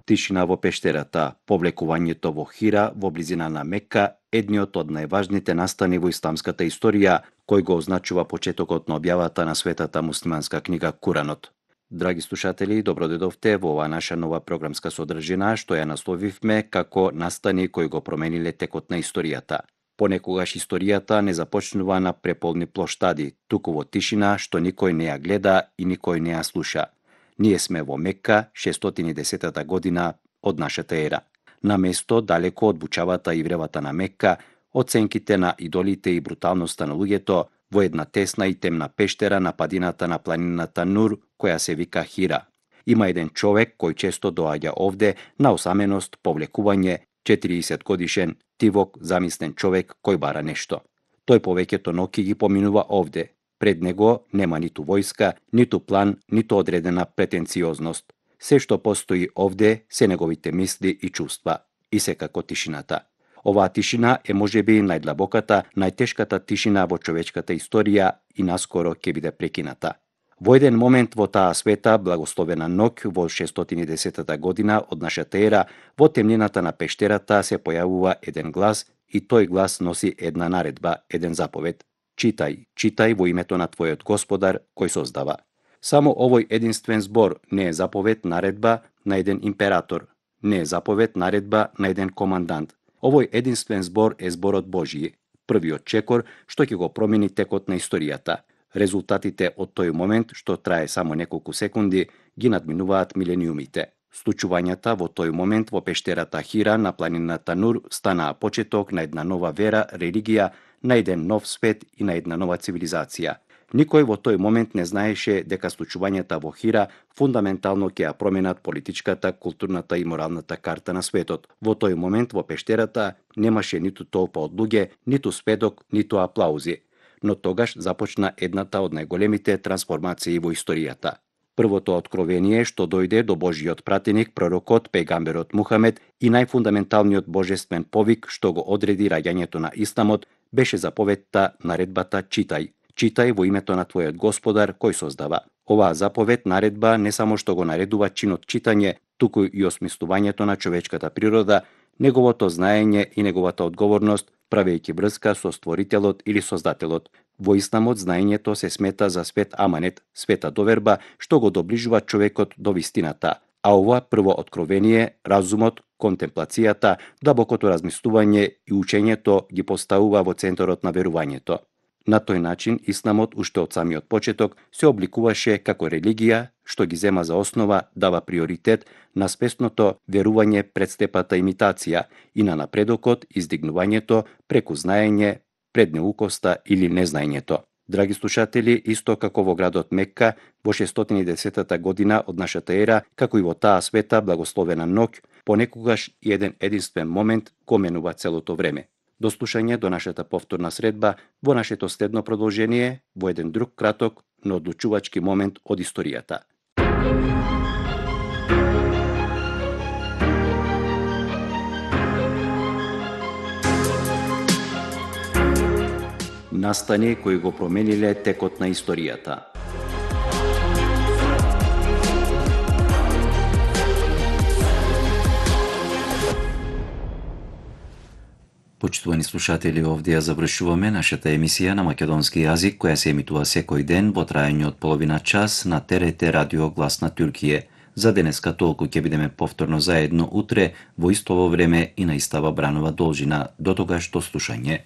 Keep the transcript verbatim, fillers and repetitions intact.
тишина во пештерата, повлекувањето во Хира во близина на Мека, едниот од најважните настани во исламската историја, кој го означува почетокот на објавата на светата муслиманска книга Куранот. Драги слушатели, добродедовте во оваа наша нова програмска содржина, што ја насловивме како настани кои го промениле текот на историјата. Понекогаш историјата не започнува на преполни плоштади, туку во тишина што никој не ја гледа и никој не ја слуша. Ние сме во Мекка, шестстотини и десета година од нашата ера. На место далеко од бучавата и вревата на Мекка, од сенките на идолите и бруталноста на луѓето, во една тесна и темна пештера на падината на планината Нур, која се вика Хира. Има еден човек кој често доаѓа овде на осаменост, повлекување, четириесет годишен, тивок, замислен човек кој бара нешто. Тој повеќето ноќи ги поминува овде. Пред него нема ниту војска, ниту план, ниту одредена претенциозност. Се што постои овде се неговите мисли и чувства, и секако тишината. Оваа тишина е можеби најдлабоката, најтешката тишина во човечката историја и наскоро ќе биде прекината. Во еден момент во таа света, благословена ноќ во шестстотини и десета година од нашата ера, во темнината на пештерата се појавува еден глас и тој глас носи една наредба, еден заповед. Читај, читај во името на твојот Господар кој создава. Само овој единствен збор не е заповед, наредба на еден император, не е заповед, наредба на еден командант. Овој единствен збор е зборот Божји, првиот чекор што ќе го промени текот на историјата. Резултатите од тој момент, што трае само неколку секунди, ги надминуваат милениумите. Случувањата во тој момент во пештерата Хира на планината Нур станаа почеток на една нова вера, религија, на еден нов свет и на една нова цивилизација. Никој во тој момент не знаеше дека случувањата во Хира фундаментално ќе ја променат политичката, културната и моралната карта на светот. Во тој момент во пештерата немаше ниту толпа од луѓе, ниту спедок, ниту аплаузи. Но тогаш започна едната од најголемите трансформации во историјата. Првото откровение што дојде до Божјиот пратеник, пророкот, пејгамберот Мухамед и најфундаменталниот божествен повик што го одреди раѓањето на исламот беше заповедта, наредбата читај. Читај во името на твојот Господар кој создава. Оваа заповед, наредба не само што го наредува чинот читање, туку и осмислувањето на човечката природа, неговото знаење и неговата одговорност, правејќи врска со Створителот или Создателот. Во исламот знаењето се смета за свет аманет, света доверба, што го доближува човекот до вистината. А ова прво откровение, разумот, контемплацијата, длабокото размислување и учењето ги поставува во центарот на верувањето. На тој начин, исламот уште од самиот почеток се обликуваше како религија, што ги зема за основа, дава приоритет на спесното верување пред степата имитација и на напредокот, издигнувањето преку знаење, пред неукоста или незнаењето. Драги слушатели, исто како во градот Мекка, во шестстотини и десета година од нашата ера, како и во таа света благословена ноќ, понекогаш и еден единствен момент го менува целото време. До слушање до нашата повторна средба во нашето следно продолжение во еден друг краток, но одлучувачки момент од историјата. Настани кои го промениле текот на историјата. Почитувани слушатели, овде ја завршуваме нашата емисија на македонски јазик, која се емитува секој ден во трајање од половина час на Т Р Т Радио Глас на Туркија. За денеска толку, ќе бидеме повторно заедно утре во истово време и на истава бранова должина. До тогаш до слушање.